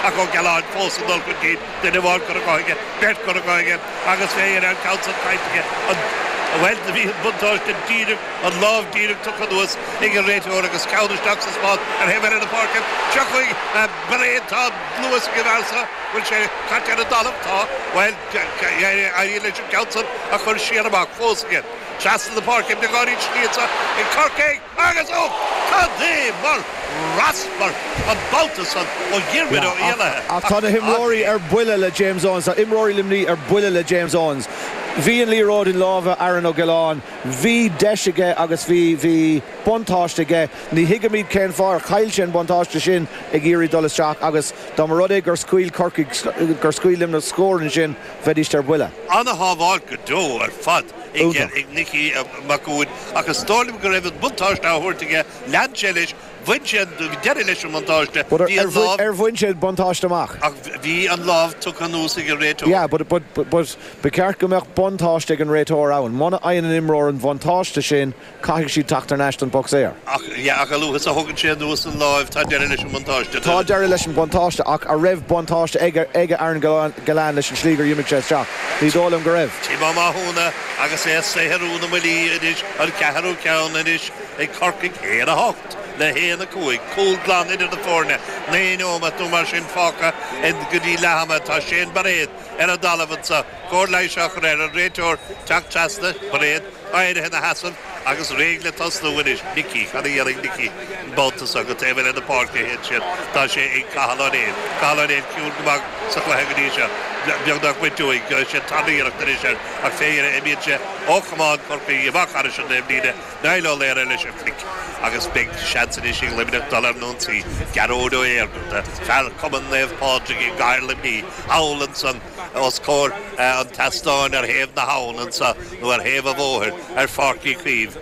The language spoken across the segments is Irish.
Ach Ó Gealáin fós ag dul chun cinn, duine amháin curtha dhe aige, beirt curtha dhe aige agus fé dheireadh an ceann san caillte aige. An, bhuel, do bhí an buntáiste díreach, an lámh díreach tugtha anuas ag an réiteoir agus ceann isteach sa spás ar thaobh eile na páirce. Seo chugainn Bairéad, tá luas ag an bhfear seo, bhfuil sé caite ar an dtalamh? Tá. Bhuel, éiríonn leis an gceann san a chur siar amach fós aige. Trasna na páirce, beagáinín slí anso ag Corcaigh agus ó! Cad é mar raspar an babhta san ó Dhiarmuid Ó Éalaithe. Ach tá na himreoirí ar buile le James Owens, tá imreoirí Luimnigh ar buile le James Owens. Bhí an liathróid i lámha Aaron Ó Giolláin, bhí deis aige agus bhí, bhí buntáiste aige. Ní thuigimid cén fáth ar chaill sé an buntáiste sin ag iarraidh dul isteach agus dá mba rud é gur scaoil Corcaigh, gur scaoil Luimneach scór ansin, bheidíst ar buile. Ana-shábháilt go deo ar fad ag Nicky Mac Uain ach is dóigh liom go raibh an buntáiste á thabhairt aige, lean sé leis, bhain sé an deireadh leis an mbuntáiste, bhí an lámh. Ar bhain sé an buntáiste amach? Ach bhí an lámh tugtha anuas ag an réiteoir. Yeah, but, but, but ba cheart go mbeadh buntáiste ag an réiteoir ann. Muna fhaigheann an imreoir an bhuntáiste sin, Caithfidh siad teacht thar n-ais don bpoc saor. Ach, yeah, ach a luaithe is a thugann sé anuas an láimh, tá deireadh leis an mbuntáiste. Tá deireadh leis an mbuntáiste, ach a' raibh buntáiste ag, ag Aaron Gillane leis an slí gur dh'imigh sé isteach? Ní dóigh liom go raibh. Tim Ó Mathúna agus é ag saothrú na mbuillí anois, an ceathrú ceann anois ag Corcaigh, 1-8 le 1-5, cúl glan idir na foirne, 9 neomat nó mar sin fágtha go dtí leath ama. Tá Shane Bairéad ar an dtalamh anso, cóir leighis á chur air, an réiteoir teacht trasna, Bairéad. Éirithe ina sheasamh agus réidh le tosnú anois. Nicky, cad a dhéanfaidh Nicky an babhta seo? Go taobh eile na páirce a théann siad. Tá sé ag Cathal Ó Néill. Cathal Ó Néill ciúin go maith sa chluiche go dtí seo. Beagnach bainte uaidh. Sé an tarna iarracht anois air ach fé dheireadh imíonn sé ó chamán Chorcaí amach thairis an taobhlíne. Niall Ó Laoire leis an chlic agus beidh seans anois ag Luimneach dul ar an ionsaí. Gearóid Ó Éigearta, fear Chumann Naomh Pádraig i gcathair Luimnigh, thall ansan. os comhair an tseastáin ar thaobh na habhann anso, nó ar thaobh an bhóthair, ar Pháirc Uí Chaoimh.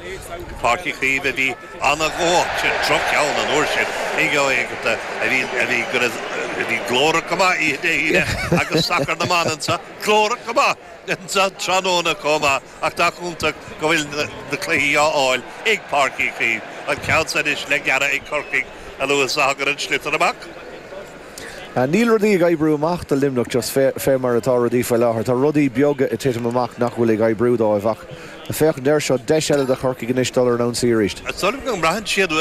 Páirc Uí Chaoimh a bhí ana-ghnóthach, sin droch-cheann an uair sin ag Ó Éigearta, a bhí, a bhí, go raibh, a bhí glórach go maith oíche Dé hAoine agus sacar na mban anso, glórach go maith anso tráthnóna chomh maith, ach nach iontach go bhfuil na cluichí á fháil ag Páirc Uí Chaoimh. An ceann san anois le gearradh ag Corcaigh a luaithe is a thagann an sliotar amach. Níl rudaí ag oibriú amach do Luimneach just fé mar atá rudaí faoi láthair. Tá rudaí beaga ag titim amach nach bhfuil ag oibriú dóibh ach féachaint air seo, deis eile do Chorcaigh anois dul ar an ionsaí arís. Is dóigh liom go mbraitheann siad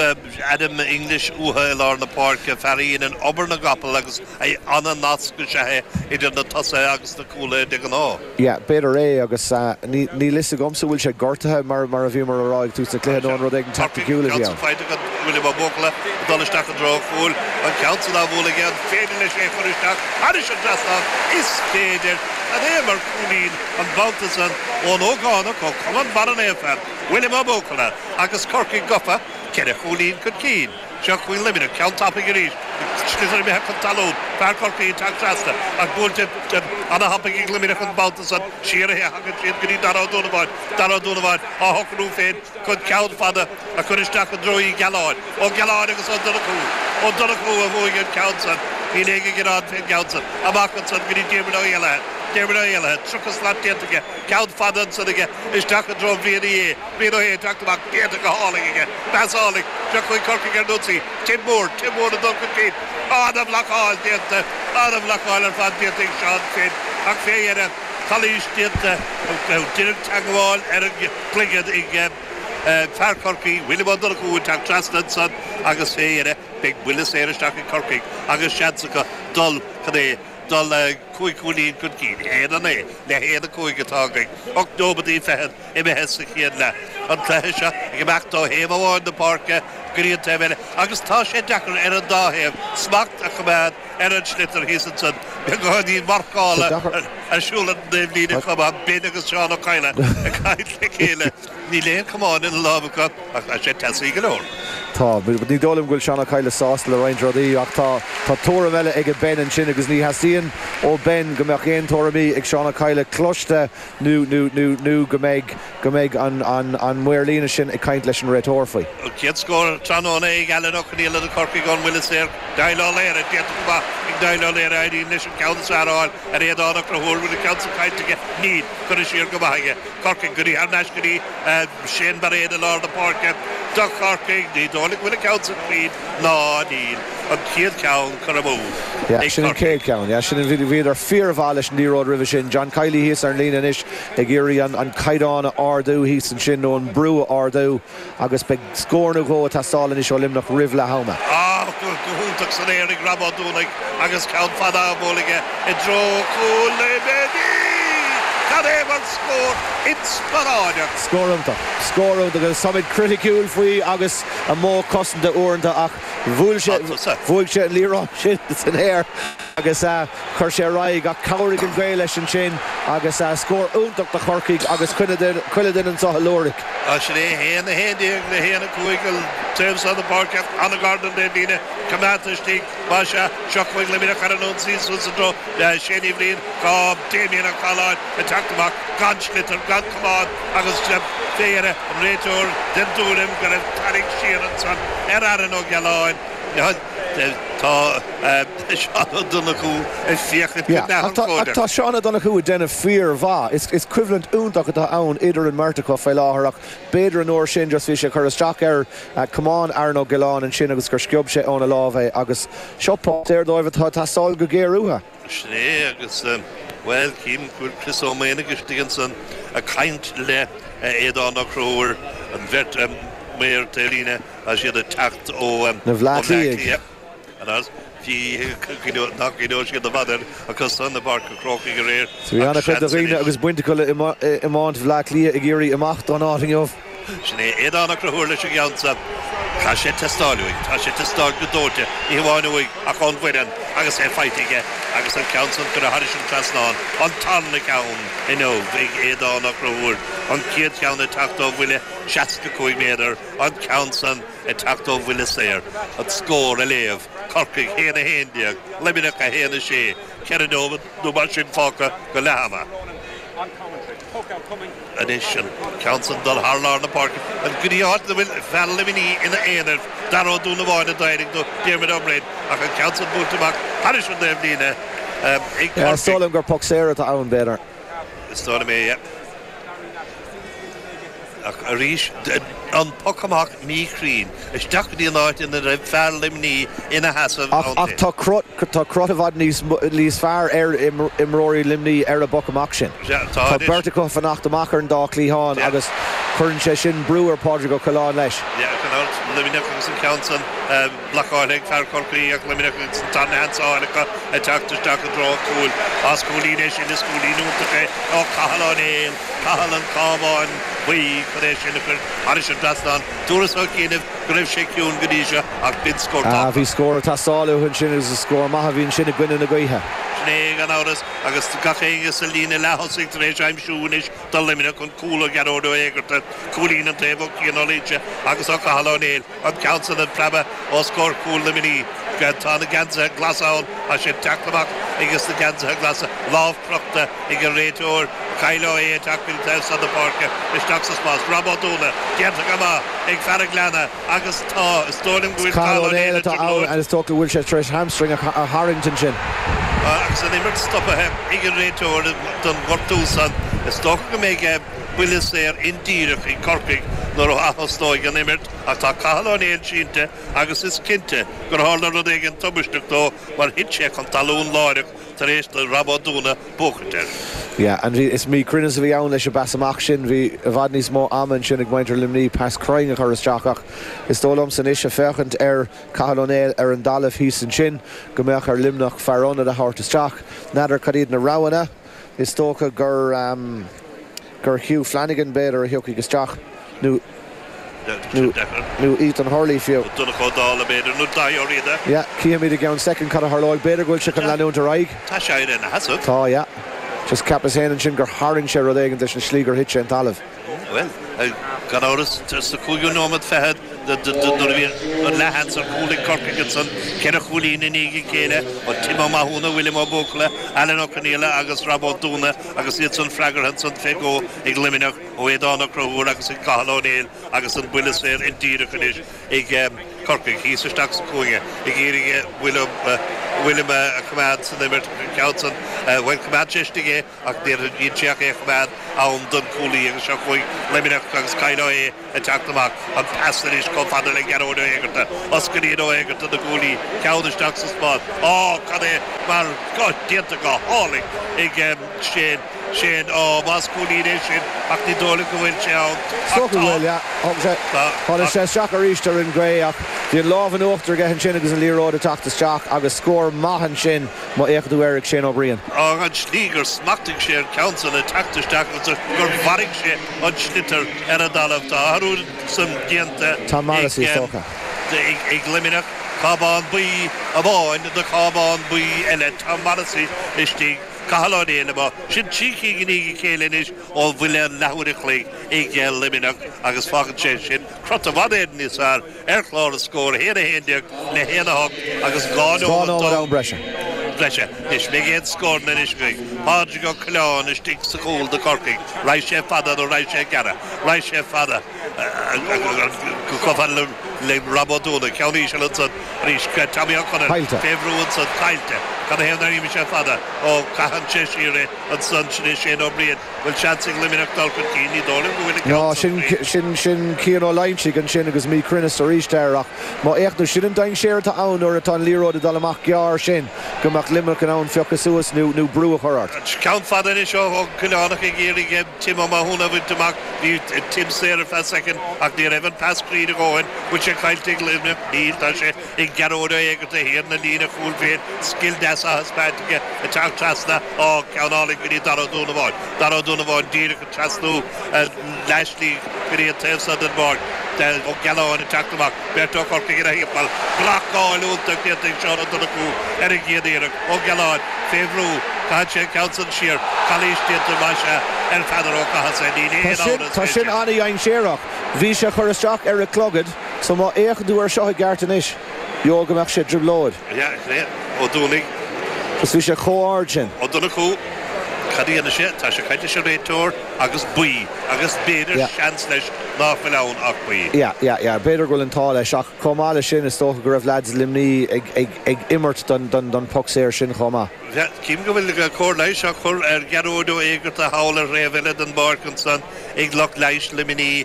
Adam English uathu i lár na páirce, fear a dhéanann obair na gcapall agus an-nasc is ea é idir na tosaithe agus na cúlaithe de ghnáth. Yeah, b'fhéidir é agus níl fhios agamsa bhfuil sé gortaithe mar mar a bhíomar a rá ag tús na cluiche nó an rud éigin teaicticiúil a bhí ann. Faighte ag William Ó Buachalla ag dul isteach i dtreo an chúil, an ceann san á bhualadh aige, an féidir leis é a chur isteach thairis an trasnán? Is féidir! Cad é mar chúilín an babhta san ón ógánach ó Chumann Barra Naofa, William Ó Buachalla agus Corcaigh gafa ceithre chúilín chun cinn. Seo chugainn Luimneach, ceann tapaidh arís, sliotar imithe chun talún, fear Chorcaí ag teacht trasna ach buailte ana-thapaidh ag Luimneach an babhta san, siar a thagann siad go dtí Dara Ó Donnabháin, Dara Ó Donnabháin á shocrú féin chun ceann fada a chur isteach i dtreo Uí Ghealláin, Ó Gealláin agus Ó Donnchú, Ó Donnchú a bhuaigh an ceann san, níl éinne ag gearán fén gceann san, amach ansan go dtí Diarmuid Ó Héalaithe, Diarmuid Ó Héalaithe, 30 slat déanta aige, ceann fada ansan aige isteach i dtreo Bhrian Uí Aodha. Brian Ó hAodha ag teacht amach, déanta go hálainn aige. Pas álainn. Seo chugainn Corcaigh ar an ionsaí. Tim Moore, Tim Moore ag dul chun cinn. Ana-bhlocáil déanta, ana-bhlocáil ar fad déanta ag Seán Finn. Ach fé dheireadh, calaois déanta, deireadh teagmháil ar an gcloigeann ag fear Chorcaí, William Ó Donnchú ag teacht trasna ansan agus fé dheireadh beidh buille saor isteach ag Corcaigh agus seans acu dul chun é dul 5 chúilín chun cinn. 1-9 le 1-5 atá againn. 8 nóimeadaí fichead imithe sa chéad leath. An cluiche seo ag imeacht ó thaobh amháin na páirce go dtí an taobh eile agus tá sé deacair ar an dá thaobh smacht a choimeád ar an sliotar thíos ansan. Beagáinín marcála ar siúl ar an dtaobhlíne chomh maith, Ben agus Seán Ó Cadhla ag caint le chéile. Níl aon chamán ina lámh acu ach tá sé teasaí go leor. Tá. Ní dóigh liom go bhfuil Seán Ó Cadhla sásta le roinnt rudaí ach tá tá tuairim eile aige Ben ansin agus ní theastaíonn. ó Ben go mbeadh aon tuairimí ag Seán Ó Cadhla cloiste nó nó nó nó go mbeidh go mbeidh an an an maor líne sin ag caint leis an réiteoir faoi. An chéad scór tráthnóna ag Alan Ó Conaola do Chorcaigh ón mbuille saor. Niall Ó Laoire, déanta go maith ag Niall Ó Laoire, éiríonn leis an ceann is fearr a fháil ar Aodán Ó Conchúir, bhfuil an ceann san caillte aige? Níl. Curtha siar go maith aige. Corcaigh go dtí thar n-ais go dtí Shane Bairéad i lár na páirce do Chorcaigh. Ní dóigh liom go bhfuil an ceann san cruinn. Ná níl. An chéad cheann curtha amú Yeah, ag sin an Corcaigh. chéad cheann. Yeah, sin an, bhíodar fíormhaith leis an liathróid roimhe sin. John Kiely thíos ar an líne anois ag iarraidh an, an caighdeán a ardú thíos ansin nó an brú a ardú agus beidh scór nó dhó ag teastáil anois ó Luimneach roimh leath ama. Ah, go hiontach san aer ag Rob Ó Dúnaigh agus ceann fada á bhualadh aige i dtreo chúl Luimnigh! Cad é mar scór inspioráideach! Scór iontach. Scór iontach agus táimid criticiúil faoi agus a mhodh cosanta uaireanta ach bhuail sé, bhuaigh sé an liathróid sin san aer agus chuir sé ar aghaidh ach chabhraigh an ghaoth leis ansin agus scór iontach do Chorcaigh agus chuile duine anseo ag liúirigh. Sin é 1, 11 le 1, 5 an taobh seo na páirce an-ghar don taobhlíne coimeádta istigh más ea. Seo chugainn Luimneach ar an ionsaí suas i dtreo Shane Uí Bhriain. Tá Damien Ó Cathaláin ag teacht amach gan sliotar, gan camán agus fé dheireadh an réiteoir den dtuairim go raibh tarraingt siar ansan ar Aaron Ó Gealáin. Tá Seán Ó Donnchú ag féachaint go neamhurchóideach. Ach tá Seán Ó Donnchú ag déanamh fíor-mhaith. Is coimhlint iontach atá ann idir an mbeirt acu fé láthair ach b'fhéidir an uair sin just bhí sé ag cur isteach ar camán Aaron Ó Giolláin ansin agus gur sciob sé óna lámh é agus seo poc saor dóibh atá ag teastáil go géar uathu. Sin é agus, bhuel, cím go bhfuil Chris Ó Maonaigh istigh ansan ag caint le Aodán Ó Conchúir, an bheirt maor taobhlíne. Tá siad ag teacht ó Na Bhleá Cliath. Nach gcuimhneoidh siad i bhfad air acu san i bPáirc an Chrócaigh aréir. Bhí ana-chuid de dhaoine agus baint acu le iomáint Bhleá Cliath ag iarraidh imeacht ón áit inniu. Sin é Aodán Ó Conchúir leis an gceann seo. Tá sé ag teastáil uaidh. Tá sé ag teastáil go dóite, ní hamháin uaidh ach ón bhfoireann agus é faighte aige agus an ceann san curtha thairis an trasnán. An tarna ceann inniu ag Aodán Ó Conchúir. An chéad cheann ag teacht ó bhuille 65 méadar. An ceann san ag teacht ó bhuille saor. An scór a léamh, Corcaigh 1, 11, Luimneach 1, 6, 4 nóiméad nó mar sin fágtha go leath ama. Anois an ceann san dul thar lár na páirce go dtí áit ina bhfuil fear Luimnigh ina aonar, Dara Ó Dúnabháin a d'éirigh nó Diarmuid Ó Broin ach an ceann san buailte amach thairis an dtaobhlíne ag Corcaigh. Is dóigh liom gur poc saor atá ann, b'fhéidir. Is dóigh liom é, yeah. Ach arís, an poc amach míchruinn, isteach go dtí an áit ina raibh fear Luimnigh ina sheasamh ann Ach tá cruth, tá cruth i bhfad níos, níos fearr ar imreoirí Luimnigh ar an bpoc amach sin. Sea, tá Tá beirt acu ag fanacht amach ar an dá chliathán agus cuireann sé sin brú ar Phádraig Ó Coileáin leis. Yeah, gan amhras, Luimneach agus an ceann san blocáilte ag fear Chorcaí ach Luimneach agus an tarna sheans á fháil acu ag teacht isteach i dtreo an chúil. As cúilín é sin, is cúilín iontach é ó Cathal Ó Néill, Cathal an Chábáin Bhuí chun é sin a chur thairis an dtrasnán. Dúras ó chianaibh go raibh sé ciúin go dtí seo ach b'in scór tábhachtach. Bhí scór ag teastáil uathu ansin agus is scór maith a bhí ansin i gcoinne na gaoithe. Sin é gan amhras agus gach éinne sa líne leath-thosaigh tar éis aimsiú anois do Luimneach an cúl ó Ghearóid Ó hÉigeartaigh, cúilín an taobh ó Cian Ó Loingsigh agus ó Cathal Ó Néill. An ceann san ag preabadh os comhair chúl Luimnigh. Tá na geansaithe glasa ann. Tá sé ag teacht amach ages na geansaithe glasa. Lámh crochta ag an réiteoir. Kyle Ó hAodha ag teacht go dtí taobh san na páirce. Isteach sa spás. Rob Ó Dúna. Déanta go maith ag fear an Ghleanna agus tá, is dóigh liom go bhfuil Cathal Ó Néill atá ann agus is dócha go bhfuil sé tar éis hamstring a tharraingt ansin. Agus an imirt stopaithe ag an réiteoir don ghortú san. Is dócha go mbeidh buille saor indíreach ag Corcaigh nuair a athosnóidh an imirt. Ach tá Cathal Ó Néill sínte agus is cinnte gur tharla rud éigin tubaisteach dó mar thit sé chun talún láithreach tar éis do Rob Ó Dúna buachaint air. Yeah, and bhí, is míchruinneas a bhí ann leis an bpas amach sin. Bhí i bhfad níos mó ama ansin ag muintir Luimnigh pas cruinn a chur isteach ach is dóigh liomsa anois ag féachaint ar Cathal Ó Néill ar an dtalamh thíos ansin go mbeadh ar Luimneach fear ionaid a thabhairt isteach. N'fheadar cad iad na roghanna. Is dócha gur gur Hugh Flanagan b'fhéidir a thiocfaidh isteach nó nó nó Ethan Hurley fiú. Donncha Ó Dálaigh b'fhéidir nó Daithí Ó Riada. Yeah, cífimid i gceann soicind cad a tharlóidh. B'fhéidir go bhfuil sé chun leanúint ar aghaidh. Tá sé ina sheasamh. Tá, yeah. Just cheapas féin ansin gur tharraing sé rud éigin leis an slí gur thit sé an talamh. Bhuel, gan amhras, sa cúigiú nóiméad fichead. Nuair a bhí an leathsheans ar chúl ag Corcaigh ansan, 4 chúilín i ndiaidh a chéile ó Tim Ó Mathúna, William Ó Buachalla, Alan Ó Conaola agus Rob Ó Dúna agus iad san freagartha ansan fé dhó ag Luimneach ó Aodán Ó Conchúir agus ag Cathal Ó Néill agus an buille saor indíreach anois ag Corcaigh thíos isteach sa chúinne ag iarraidh William a choimeád san imirt an ceann san, bhuel choimeád sé istigh é ach níor dhein sé ach é a choimeád ann don chúlaí agus seo chugainn Luimneach agus Kyle Ó hAodha ag teacht amach. An pas anois chomh fada le Gearóid Ó hÉigearta. Osclaíonn Ó Héigearta na guaillí, ceann isteach sa spás. Á, cad é mar déanta go hálainn ag Shane. Shane, á, más cúilín é sin ach ní dóigh liom go bhfuil sé ann. Is dócha go bhfuil, yeah. Thug sé, tháinig sé isteach arís ar an ghaoth ach bhí an lámh in uachtar aige ansin agus an liathróid ag teacht isteach agus scór maith ansin. Má fhéachann tú air ag Shane Ó Briain. An tslí gur smachtaigh sé an ceann san ag teacht isteach agus gur mharaigh sé an sliotar ar an dtalamh. Tá athrú san déanta Tom Morrissey, is dócha. ag Luimneach. Cábán buí amháin do chábán buí eile. Tom Morrissey istigh, Cathal Ó Néill amuigh. Sin 3 cinn i ndiaidh a chéile anois ó bhuille an leathuair a chloig ag Luimneach agus fágann sé sin crot i bhfad Éireann níos fearr ar chlár na scór, 1, 11 le 1, 8 agus 2 nóiméad d'am breise. breise. Anois, beidh aon scóranna anois againn. Pádraig Ó Coileáin istigh sa chúl do Chorcaigh. Raghaidh sé fada nó raghaidh sé gearra? Raghaidh sé fada go chomh fada le Rob Ó Dúna. Ceann íseal ansan arís. Tommy Ó Conaill fé bhrú ansan. Caillte. Cad a thaobh nár imigh sé fada? Ó, caitheann sé siar é ansan. Sin é Shane Ó Briain. Bhfuil seans ag Luimneach dul chun cinn? Ní dóigh liom go bhfuil an ceann san faoi. Sin sin Cian Ó Loingsigh ansin agus míchruinneas arís air ach má fhéachann tú, sin an dainséar atá ann nuair atá an liathróid ag dul amach gearr sin, go mbeadh Luimneach in ann piocadh suas nó nó brú a chur ort. Ceann fada anois ó Ó Coileánach ag iarraidh Tim Ó Mathúna a bhaint amach. Bhí Tim saor ar feadh soicind ach ní raibh an pas cruinn a dhóthain. Bhfuil sé caillte ag Luimneach? Níl, tá sé ag Gearóid Ó Éigearta thiar na líne chúil féin. Scil deas á thaispeáint aige ag teacht trasna. Á, ceann álainn go dtí Dara Ó Dúnabháin. Dara Ó Dúnabháin díreach ag trasnú leathshlí go dtí an taobh seo den bpáirc. Ó Gealáin ag teacht amach. Beirt ó Chorcaigh ina thimpeall. Blocáil iontach déanta ag Seán Ó Donnchú ar an gcéad iarraidh. Ó Gealáin fé bhrú. Caitheann sé an ceann san siar. Calaois déanta, más ea, ar Pheadar Ó Cathasaigh. Níl aon amhras Tá fé sin sin. an-dhainséarach. Bhí sé chur isteach ar a chlogad so má fhéachann tú air seo i gceart anois, gheobhaidh go mbeadh sé i dtrioblóid. Ó Dúnaigh. Is bhí sé chomh ard sin. Ó Donnchú, Cad a dhéanfaidh sé? Tá sé ag caint leis an réiteoir agus buí agus b'fhéidir seans leis ná fuil ann ach buí. Yeah, yeah, yeah. B'fhéidir go bhfuil an t-ádh leis ach chomh maith leis sin is dócha go raibh leaids Luimní ag, ag, ag imirt don, don, don poc saor sin chomh maith. Yeah, cím go bhfuil cóir leighis á chur ar Ghearóid Ó Éigearta thall ar thaobh eile den bpáirc ansan ag lucht leighis Luimní.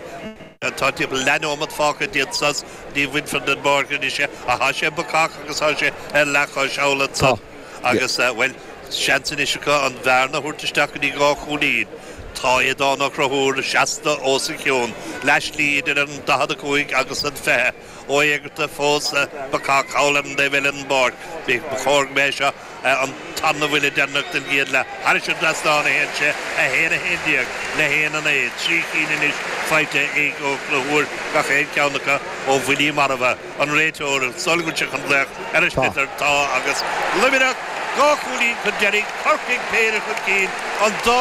Tá timpeall leathneomat fágtha dtí an sos. Ní bhainfear den bpáirc anois é, ach tá sé bacach agus tá sé ar leathchois thall ansan agus, bhuel, seans anois acu an bhearna a thabhairt isteach go dtí 2 chúilín. Tá Aodán Ó Conchúir seasta os a chionn, leathshlí idir an 45 agus an 20. Ó Éigearta fós bacach thall ar an dtaobh eile den bpáirc. Ba chóir go mbeadh é seo an tarna bhuille deireanach den gcéad leath. Thairis an dtrasnán a théann sé, 1, 11 le 1, 9. 3 cinn anois faighte ag Ó Conchúir, gach aon cheann acu ó bhuillí marbha. An réiteoir, sula bhfuil sé chun glaoch ar an sliotar, tá agus Luimneach 2 chúilín chun deiridh, Corcaigh péire chun cinn, an dá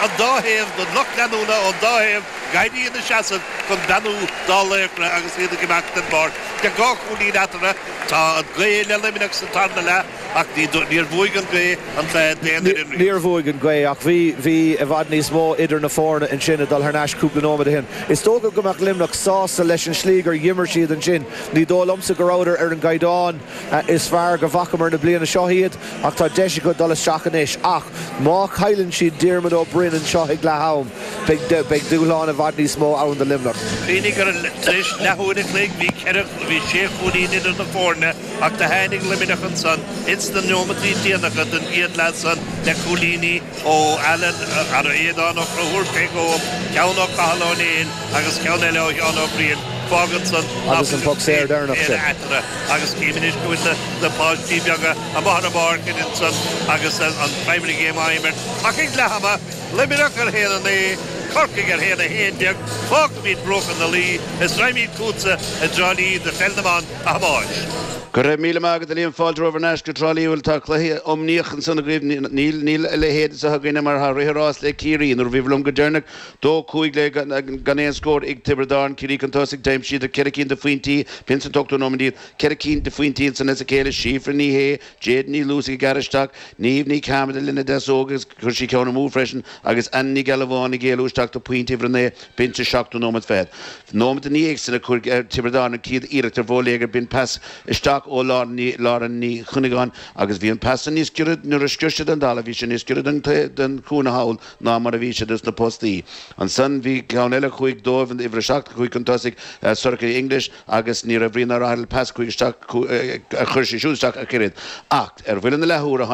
an dá thaobh den lucht leanúna ón dá thaobh ag éirí ina seasamh chun beannú dá laochra agus iad ag imeacht den bpáirc. Le dhá chúilín eatarthu. Tá an ghaoth le Luimneach sa tarna leath ach níor bhuaigh an ghaoth an cluiche d'aon fhoireann riamh. Níor bhuaigh an ghaoth ach bhí bhí i bhfad níos mó idir na foirne ansin ag dul thar n-ais cúpla nóiméad ó shin. Is dócha go mbeadh Luimneach sásta leis an slí gur dh'imir siad ansin. Ní dóigh liomsa go rabhadar ar an gcaighdeán is fearr go bhfacamar na bliana seo iad ach tá deis acu dul isteach anois. Ach má chailleann siad Diarmuid Ó Broin anseo ag leath-am, Beidh dúshlán i bhfad níos mó ann do Luimneach. Cuimhnigh gur tar éis leathuair a chloig bhí ceithre, bhí sé chúilín idir na foirne ach do tháinig Luimneach ansan ins na neomataí déanacha den gcéad leath san le cúilíní ó Alan, ar Aodán Ó Conchúir fé dhó, ceann ó Cathal Ó Néill agus ceann eile ó Sheán Ó Briain. Fágann san nach Agus an poc saor deireanach sin. eatarthu agus cím anois go bhfuil na páistí beaga amuigh ar an bpáirc ansan agus an primary game á imirt ach ag leath ama Luimneach ar 1, 9. Corcaigh ar 1, 11. Fágfaimid bruacha na Laoi is raghaimid chugatsa i dTrá Lí do Pheil na mBan, a Thomáis. Go raibh míle maith agat a Liam, fáilte romhaibh thar n-ais go Trá Lí bhuel tá cluiche iomaíoch ansan agaibh níl níl a leithéid anseo againne mar tá rith an ráis le Ciarraí nuair a bhíobhair liom go deireanach 2 5 le gan aon scór ag Tiobraid Árann Ciarraí chun tosaigh d'aimsíodar ceithre cinn de phointí b'in san t-ochtú nóiméad iad ceithre cinn de phointí ansan as a chéile Síofra Ní Shé Jade Ní Luasaigh ag gearradh isteach Niamh Ní Chearmada lena deasóg agus chuir sí ceann amú freisin agus Anna Ní Ghealbháin ag éalú isteach do phointe uimhir a 9 b'in sa seachtú nóiméad fichead. Nóiméad ina dhiaidh sin a chuir Tiobraid Árann an chéad iarracht ar bhóiléagar b'in pas isteach ó Lára Ní Chuinneagáin agus bhí an pas san níos giorra nuair a scrios sé den dtalamh bhí sé níos giorra don chúinne thall ná mar a bhí sé dos na postaí. Ansan bhí ceann eile a chuaigh dóibh an uimhir a 7 a chuaigh chun tosaigh Sorcha English agus ní raibh brí ná rath ar an pas a chuaigh isteach a chuir sí siúd isteach ach oiread. Ach ar bhuille na leathuaire.